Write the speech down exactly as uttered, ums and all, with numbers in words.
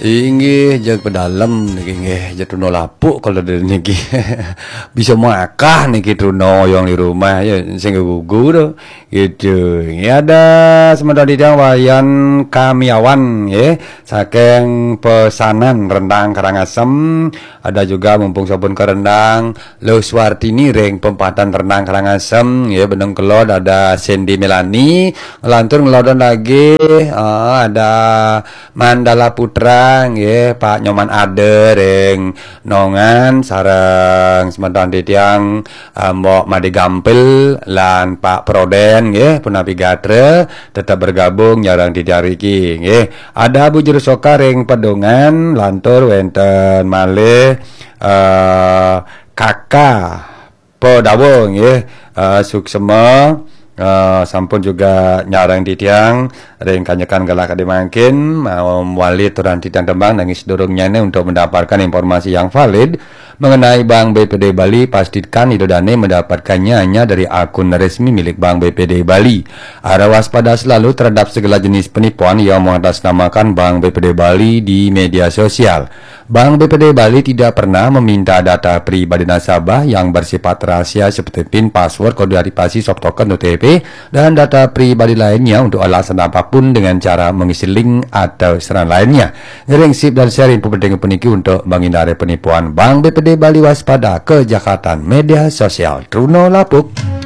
Inggih, jeg pedalem niki nggih, jeg truna lapuk kalau dari niki. Bisa makan niki truna yang di rumah ya, sing gugu tu. Gitu. Ini ada sementara di Wayan Kamiawan ya, saking pesanan Rendang Karangasem. Ada juga mumpung sabun ke Rendang, Lo Suartini ring pempatan Rendang Karangasem ya, beneng kelod ada Sandy Melani, ngelantur ngelodon lagi, ah, ada Mandala Putra nggih, Pak Nyoman Ade ring Nongan, sareng semeton titiang, eh, Mbok Made Gampil lan Pak Proden nggih, punapi gatra, tetep bergabung nyareng titiang riki nggih. Ada Bu Juru Soka ring Pedungan, lantur wenten malih, eh, Kaka Padawa nggih, eh, suksema, eh, sampun juga nyareng titiang ring kanyekan galah kadi mangkin, mawali aturan titiang tembang nanging sedurungnyane untuk mendapatkan informasi yang valid mengenai Bank B P D Bali, pastikan Ida Dane mendapatkannya hanya dari akun resmi milik Bank B P D Bali. Harap waspada selalu terhadap segala jenis penipuan yang mengatasnamakan Bank B P D Bali di media sosial. Bank B P D Bali tidak pernah meminta data pribadi nasabah yang bersifat rahasia seperti pin, password, kode aktivasi, soft token, O T P, dan data pribadi lainnya untuk alasan apapun dengan cara mengisi link atau sarana lainnya. Ngiring sip dan share info penting puniki untuk menghindari penipuan. Bank B P D Bali, waspada kejahatan media sosial. Truna lapuk.